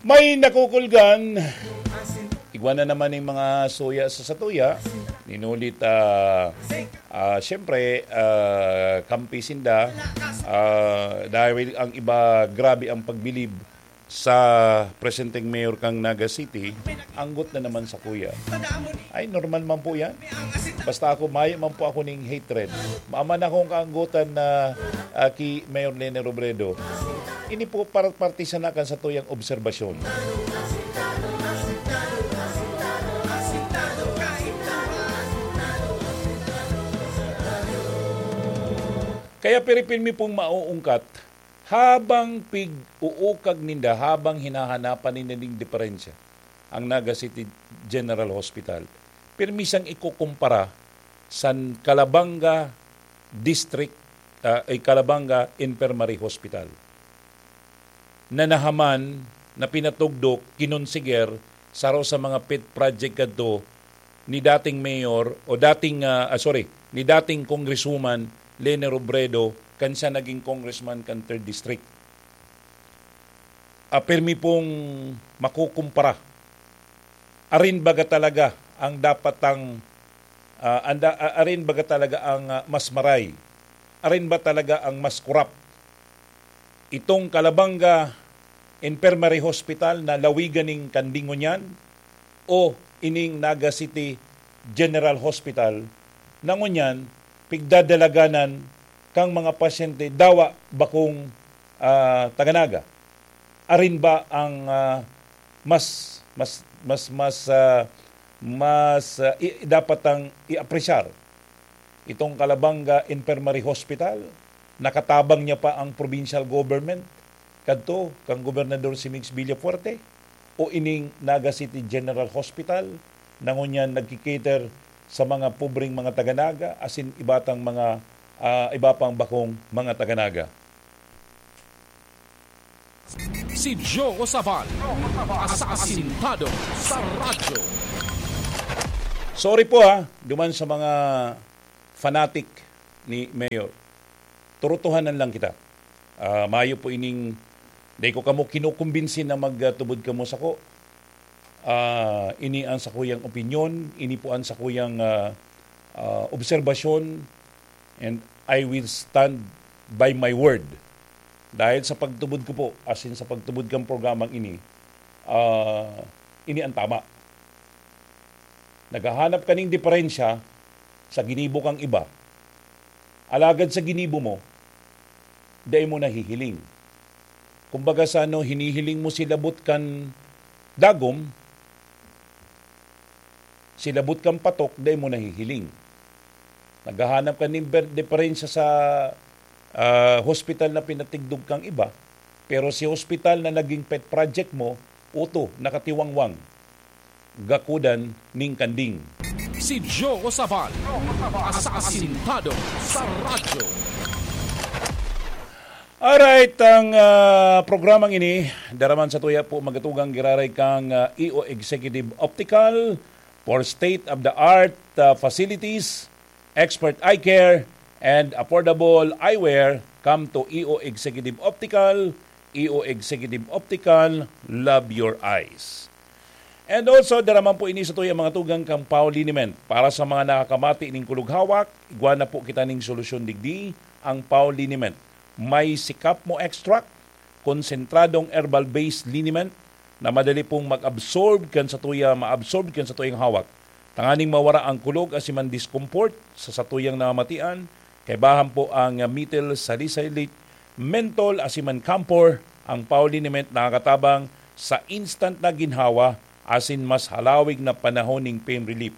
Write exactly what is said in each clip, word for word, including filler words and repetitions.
May nakukulgan. Igwa na naman yung mga suya sa satuya. Ninulit, ah, ah, siyempre, ah, kampi sinda. Ah, dahil ang iba, grabe ang pagbilib sa presenteng mayor kang Naga City, anggot na naman sa kuya. Ay, normal man po yan. Basta ako, mayo man po ako ning hatred. Maman akong kaanggotan na, ah, ki Mayor Lene Robredo. Ini po para parte sana kan satuyang obserbasyon. Kaya piripirmi pong mauungkat, habang pig-uukag ninda, habang hinahanapan ninda ning diferensya, ang Naga City General Hospital, pirmi siyang ikukumpara san Calabanga District, ah, ay Calabanga Infirmary Hospital, na nahaman, na pinatugdok, kinonsiger, saro sa mga pet project kadto ni dating mayor o dating, ah, ah, sorry, ni dating Congresswoman Lene Robredo kan siya naging congressman kan Third District. Ah, pirmi pong makukumpara. Arin baga talaga ang dapat ang, ah, anda-, ah, arin baga talaga ang, ah, mas maray? Arin ba talaga ang mas korap? Itong Calabanga Infirmary Hospital na lawigan ning kanding ngunyan o ining Naga City General Hospital na ngunyan pigdadalaganan kang mga pasyente dawa bakong, ah, taga Naga? Arin ba ang, ah, mas, mas, mas, mas, ah, mas, ah, i-, dapat ang i-apresyar? Itong Calabanga Infirmary Hospital, nakatabang niya pa ang provincial government, kadto kang Gobernador si Migs Villafuerte, o ining Naga City General Hospital, na ngunyan nagki-cater sa mga pobreng mga taga-Naga, asin iba tang mga, ah, iba pang bakong mga taga-Naga. Si Joe Sabal, asasintado sa radyo. Sorry po, ha, duman sa mga fanatic ni Mayor. Turutuhanan lang kita. Ah, mayo po ining, dai ko kamo kinukumbinsi na magtubod kamo sako. Ah, ini ang sakuyang opinyon, ini po ang sakuyang, ah, ah, obserbasyon, and I will stand by my word. Dahil sa pagtubod ko po, as in sa pagtubod kang programang ini, ah, ini ang tama. Naghahanap ka ning diferensya sa ginibo kang iba, alagad sa ginibo mo, dai mo nahihiling. Kumbaga sa ano, hinihiling mo si labot kan dagom, si labot kan patok, dai mo nahihiling. Naghahanap ka nin ber-, diferensya sa, ah, hospital na pinatigdog kang iba, pero si hospital na naging pet project mo, uto, nakatiwangwang, gakudan ning kanding. Si Joe Sabal, asasintado sa radyo. Alright, ang, ah, programang ini, daraman sa tuya po magatugang giraray kang, ah, E O Executive Optical for state-of-the-art, ah, facilities, expert eye care, and affordable eyewear. Come to E O Executive Optical, E O Executive Optical, love your eyes. And also, daraman po ini sa tuya mga tugang kang Pau Liniment. Para sa mga nakakamati ning kulog hawak, igwa na po kita ning solusyon digdi, ang Pau Liniment. May sikap mo extract, konsentradong herbal-based liniment na madali pong mag-absorb kan sa tuya, ma-absorb kan sa tuyang hawak. Tanganing mawara ang kulog asin man discomfort sa satuyang namamatian, kaibahan po ang methyl salicylate, menthol asin man camphor. Ang Pau Liniment nakakatabang sa instant na ginhawa asin mas halawig na panahon ning pain relief.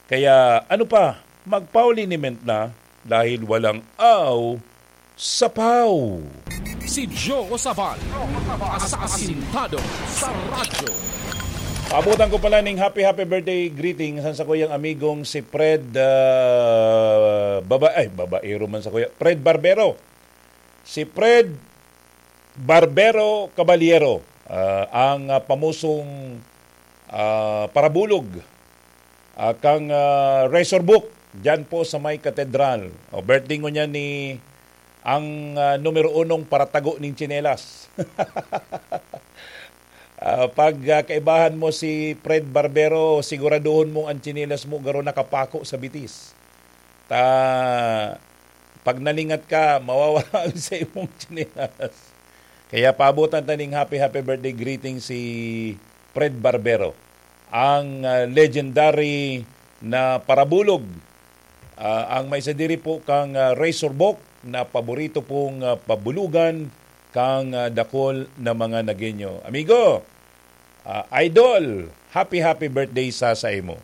Kaya ano pa, mag-Pau Liniment na dahil walang aw sa Pau. Si Joe Sabal, asasintado sa radyo. Paabutan ko pala ning happy, happy birthday greeting sa sakuyang amigong si Fred, ah, baba-, ay, babaero man sakuya. Fred Barbero. Si Fred Barbero Caballero, ah, ang, ah, pamusong, ah, parabulog, ah, kang, ah, Razor Book, diyan po sa may katedral. O, birthday ngunyan ni ang, ah, numero unong paratago ning tsinelas. Ah, Pag ah, kaibahan mo si Fred Barbero, siguraduhon mong ang tsinelas mo garo nakapako sa bitis. Ta pag nalingat ka, mawawala ang sa imong tsinelas. Kaya paabutan ta ning happy, happy birthday greeting si Fred Barbero, ang ah, legendary na parabulog. Ah, ang may sadiri po kang ah, Razorback na paborito pong ah, pabulugan kang ah, dakol na mga Nagueño. Amigo, ah, idol, happy, happy birthday sa sa imo.